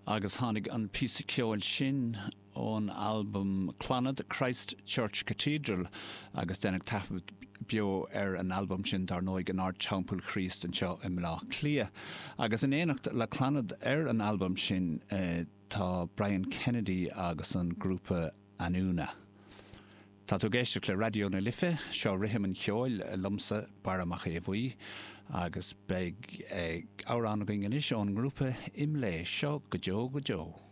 Agus tháinig an píosa ceoil sin ón albam Clannad, Christ Church Cathedral agus deineadh taifead beo ar an albam sin dar ndóigh in Ard-Teampall Chríost anseo i mBleá Cliath. Agus in éineacht le Clannad ar an albam sin tá Brian Kennedy agus an grúpa Anúna. Tá tú ag éisteacht le Raidió na Life, seo Rithim an Cheoil, liomsa, Barra Mac Aodha Bhuí, agus beidh amhrán againn anois ón ngrúpa IMLÉ, seo Go Deo Go Deo.